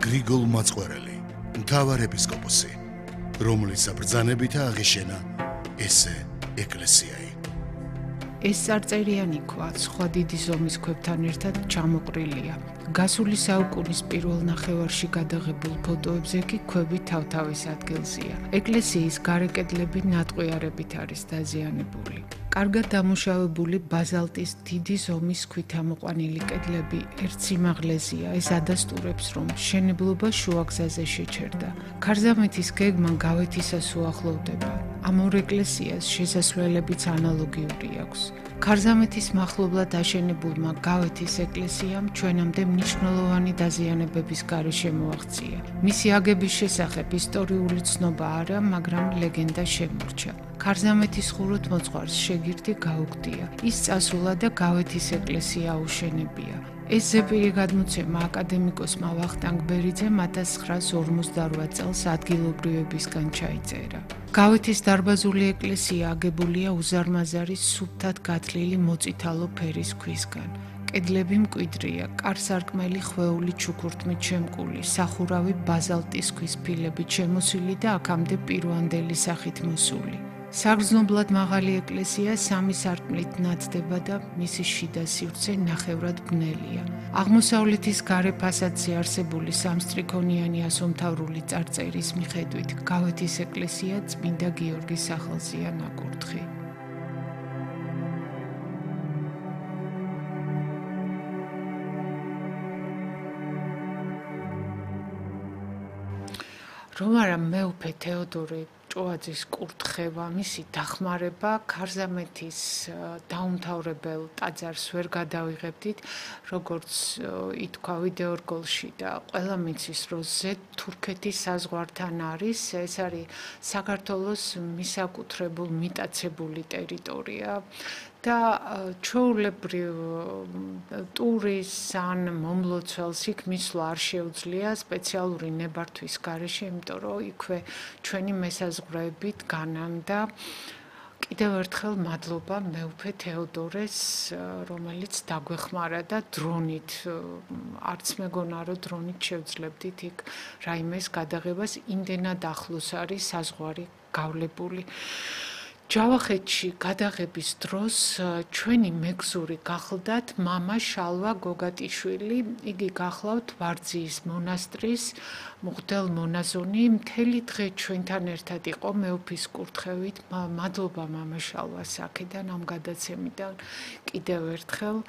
გრიგოლ მაწყვერელი, მთავარ ეპისკოპოსი, რომლის საბრძანებით აღიშენა ესე ეკლესიაი. ეს წარწერიანი ქვა სხვა დიდი ზომის ქვებთან ერთად ჩამოყრილია. გასული საუკუნის პირველ ნახევარში გადაღებულ ფოტოებზე კი ქვები თავთავის ადგილზეა. ეკლესიის გარე კედლები ნატყვიარებით არის დაზიანებული. კარგად დამუშავებული ბაზალტის დიდი ზომის ქვით ამოყვანილი კედლები ერთ სიმაღლეზეა. ეს ადასტურებს, რომ მშენებლობა შუაგზაზე შეჩერდა. ქარზამეთის გეგმა გავეთისას უახლოვდება. ამ ორ ეკლესიას შესასვლელებიც ანალოგიური აქვს. ქარზამეთის მახლობლად აშენებულმა გავეთის ეკლესიამ ჩვენამდე მნიშვნელოვანი დაზიანებების გარეშე მოაღწია. მისი აგების შესახებ ისტორიული ცნობა არა, მაგრამ ლეგენდა შემორჩა. ქარზამეთის ხუროთ მოწყარს შეგირდი გაუგდია. ის წასულა და გავეთის ეკლესია აუშენებია. ეს ზეპირი გადმოცემა აკადემიკოსმა ვახტანგ ბერიძემ 1958 წელს ადგილობრივებისგან ჩაიწერა. გავეთის დარბაზული ეკლესია აგებულია უზარმაზარი სუფთად გათლილი მოწითალო ფერის ქვისგან. კედლები მკვიდრია, კარ-სარკმელი ხვეული ჩუქურთმით შემკული, სახურავი ბაზალტის ქვის ფილებით შემოსილი და აქამდე პირვანდელი სახით მოსული. საგრძნობლად მაღალი ეკლესია 3 სარკმლით ნათდება და მისი შიდა სივრცე ნახევრად ბნელია. აღმოსავლეთის გარე ფასადზე არსებული სამსტრიქონიანი ასომთავრული წარწერის მიხედვით გავეთის ეკლესია წმინდა გიორგის სახელზეა ნაკურთხი. რომ არა მეუფე თეოდორე ჭოაძის კურთხევა, მისი დახმარება ქარზამეთის დაუმთავრებელ ტაძარს ვერ გადავიღებდით, როგორც ითქვა ვიდეორგოლში და ყველა მიცის, რომ ზედ თურქეთის საზღვართან არის, ეს არის საქართველოს მისაკუთრებულ მიტაცებული ტერიტორია. და ჩვეულებრივ ტურის ან მომლოცველს იქ მისვლა არ შეუძლია სპეციალური ნებართვის გარეშე, იმიტომ რომ იქვე ჩვენი მესაზღვრეებით განამდა. კიდევ ერთხელ მადლობა მეუფე თეოდორეს, რომელიც დაგვეხმარა და დრონით, არც მეგონა რომ დრონით შევძლებდით იქ რაიმეს გადაღებას, იმდენად ახლოს არის საზღვარი გავლებული. ჯავახეთში გადაღების დროს ჩვენი მეგზური გახლდათ მამა შალვა გოგატიშვილი, იგი გახლავთ ვარძიის მონასტრის მღვდელ მონაზონი, მთელი დღე ჩვენთან ერთად იყო მეუფის კურთხევით. მადლობა მამა შალვას აქედან ამ გადაცემიდან კიდევ ერთხელ.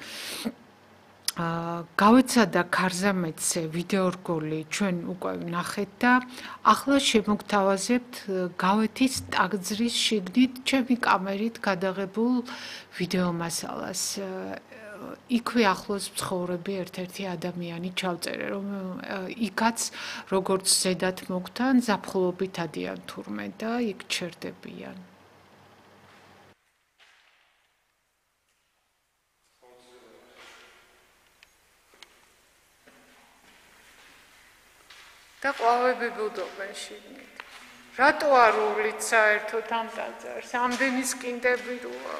გავეცადა ქარზამეთზე ვიდეორგოლი ჩვენ უკვე ვნახეთ და ახლა შემოგთავაზებთ გავეთის ტაძრის შიგნით ჩემი კამერით გადაღებულ ვიდეო მასალას. იქვე ახლოს მცხოვრები ერთ-ერთი ადამიანი ჩავწერე, რომ იქაც როგორც ზედათ მოგთან ზაფხულობით ადიან თურმე და იქ ჩერდებიან. და ყვავები ბუდობენ შიგნით. რატო არ უვლით საერთოდ ამ ტაძარს? ამდენი სკინდები როა.